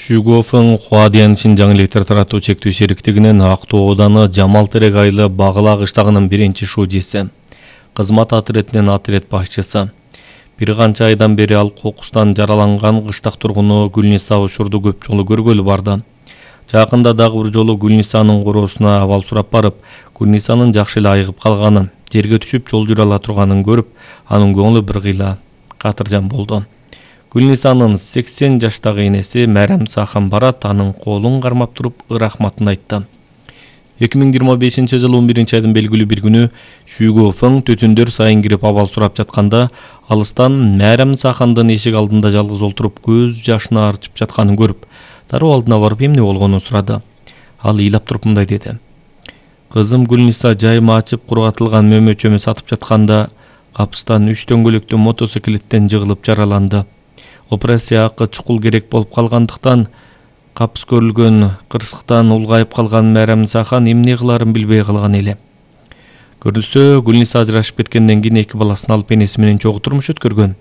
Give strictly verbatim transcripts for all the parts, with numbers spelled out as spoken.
Шүйгөфүн Хуадиян Шинжаң электр таратуу чектүү шериктигинин Актоо ооданы Жамал Терек айылы Багыла кыштагынын биринчи шужиси, кызмат отрядынын отряд башчысы. Бир канча айдан бери ал кокустан жараланган кыштак тургуну Гүлниса учурду көп жолу көргөлү барды. Жакында дагы бир жолу Гүлнисанын короосуна абал сурап барып, Гүлнисанын жакшы эле айыгып калганын, жерге түшүп жол жүрө ала турганын көрүп, анын көңүлү бир кыйла катыржан болду. Гүлнисанын сексен жаштагы энеси Мээрим Сахан барат, анын колун кармап туруп рахматын айтты. эки миң жыйырма бешинчи жылы он биринчи айдын белгилүү бир күнү Шүйгөфүн түтүндөр сайын кирип абал сурап жатканда, алыстан Мээрим Сахандын эшик алдында жалгыз олтуруп көз жашына арчып жатканын көрүп, дароо алдына барып эмне болгонун сурады. Ал ыйлап туруп мындай деди: "Кызым Гүлниса жайма ачып кургатылган мөмө-чөмө сатып жатканда капыстан үч дөңгөлөктүү мотоциклеттен жыгылып жараланды. Операцияга чукул керек болуп калгандыктан капыс көрүлгөн кырсыктан улгайып калган Мээрим Сахан эмне кыларын билбей калган эле. Көрүлсө, Гүлниса ажырашып кеткенден кийин эки баласын алып энеси менен чогуу турмуш өткөргөн.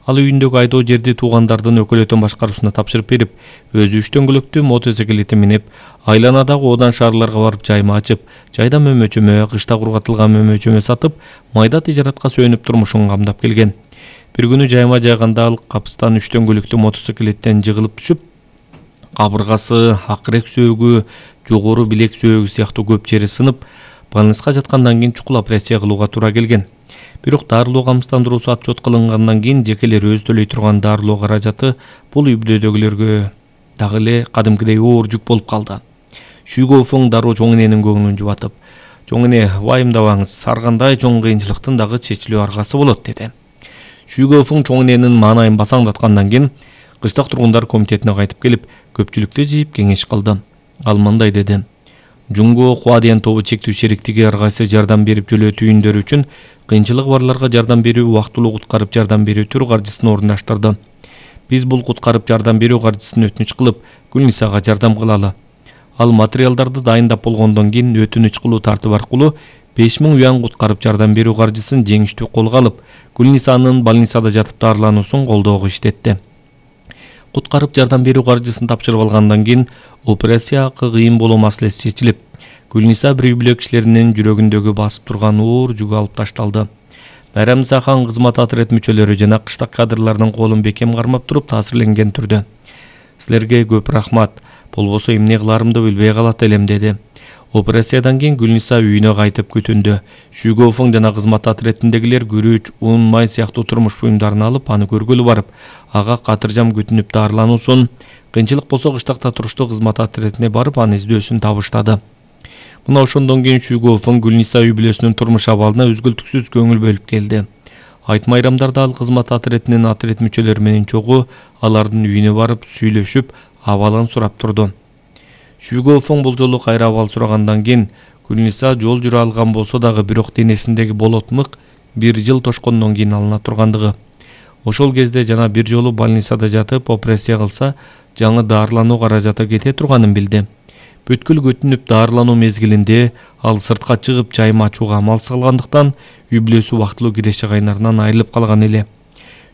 Ал үйүндөгү айдоо жерди туугандардын өкөлөтөн башкаруусуна тапшырып берип, өзү үч дөңгөлөктүү мотоциклете минип, айланадагы оодан шаарларга барып жайма ачып, жайда мөмө-чөмө, кышта кургатылган мөмө-чөмө сатып, майда тижаратка сүйөнүп турмушун камдап келген. Бир күнү жайма жайганда ал капыстан үч дөңгөлөктүү мотоциклеттен жыгылып түшүп, кабыргасы, акырек сөөгү, жогору билек сөөгү сыяктуу көп жери сынып, больницага жаткандан кийин чукул операция кылууга туура келген. Бирок дарылоо камсыздандыруусу отчет кылынгандан кийин жекелер өзү төлөй турган дарылоо каражаты бул үй бүлөдөгүлөргө дагы эле кадимкидей оор жүк болуп калды. Шүйгөфүн дароо чоң эненин көңүлүн жубатып: "Чоң эне, вайымдабаңыз, ар кандай чоң кыйынчылыктын дагы чечилүү аргасы болот" деди. Шүйгөфүн чоң эненин маанайын басаңдаткандан кийин кыштак тургундар комитетине кайтып келип, көпчүлүктү жыйып кеңеш кылды. Ал мындай деди: "Жумго Хуадиян тобу чектүү шериктиги ар кайсы жардам берип жөлөө түйүндөрү үчүн кыйынчылыгы барларга жардам берүү, убактылуу куткарып жардам берүү түрү каржысын орундаштырды. Биз бул куткарып жардам берүү каржысын өтүнүч кылып, Гүлнисага жардам кылалы. Ал материалдарды дайындап болгондон кийин өтүнүч кылуу тартип аркылуу беш миң юан куткарып жардам берүү каржысын жеңиштүү колго алып, Гүлнисанын больницада жатып даарылануусун колдоого иштетти. Куткарып жардам берүү каржысын тапшырып алгандан кийин операция кыйын болуу маселеси чечилип, Гүлниса бир үй бүлө кишилеринин жүрөгүндөгү басып турган оор жүгү алып ташталды. Мээрим Сахан кызмат отряд мүчөлөрү жана кыштак кадрлардын колун бекем кармап туруп таасирленген түрдө: "Силерге көп рахмат, болбосо эмне кыларымды билбей калат элем" деди. Операциядан кийин Гүлниса үйүнө кайтып күтүндө. Шүйгөфүн жана кызмат отрядындагилер күрүч, ун, май сыяктуу турмуш буюмдарын алып, аны көргөлү барып, ага катыржам күтүнүп даарылануусун, кыйынчылык болсо кыштакта туруштуу кызмат отрядине барып, анын издөөсүн табыштады. Мына ошондон кийин Шүйгөфүн Гүлниса үй бүлөсүнүн турмуш абалына үзгүлтүксүз көңүл бөлүп келди. Айт майрамдарда ал кызмат отрядынын отряд мүчөлөрү менен чогуу алардын үйүнө барып сүйлөшүп, абалын сурап турду. Шүйгөфүн бул жолу кайра абал сурагандан кийин Гүлниса жол жүрө алган болсо дагы, бирок денесиндеги болот мык бир жыл тошкондон кийин алына тургандыгы. Ошол кезде жана бир жолу больницада жатып операция кылса, жаңы даарылануу каражаты кете турганын билди. Бүткүл күтүнүп даарылануу мезгилинде ал сыртка чыгып жайма ачууга амалсыз калгандыктан үй бүлөсү убактылуу киреше кайнарынан айрылып калган эле.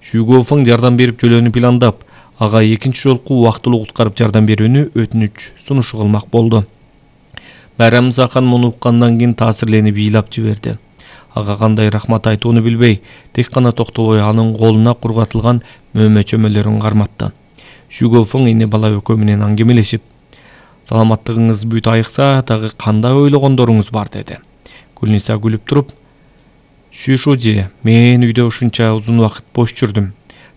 Шүйгөфүн жардам берип жөлөөнү пландап, ага экинчи жолку убактылуу куткарып жардам берүүнү өтүнүч сунушу кылмак болду. Мээрим Сахан муну уккандан кийин таасирленип ыйлап жиберди. Ага кандай рахмат айтууну билбей, тек гана токтобой анын колуна кургатылган мөмө-чөмөлөрүн карматты. Шүйгөфүн эне бала экөө менен аңгемелешип: "Саламаттыгыңыз бүт айыкса, дагы кандай ойлогондоруңуз бар" деди. Гүлниса күлүп туруп: "Шүшужи, мен үйдө ушунча узун убакыт бош жүрдүм.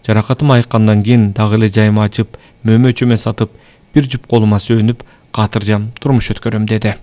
Жаракатым айыккандан кийин дагы эле жайма ачып, мөмө-чөмө сатып, бир жуп колума сүйөнүп, катыржам турмуш өткөрөм" деди.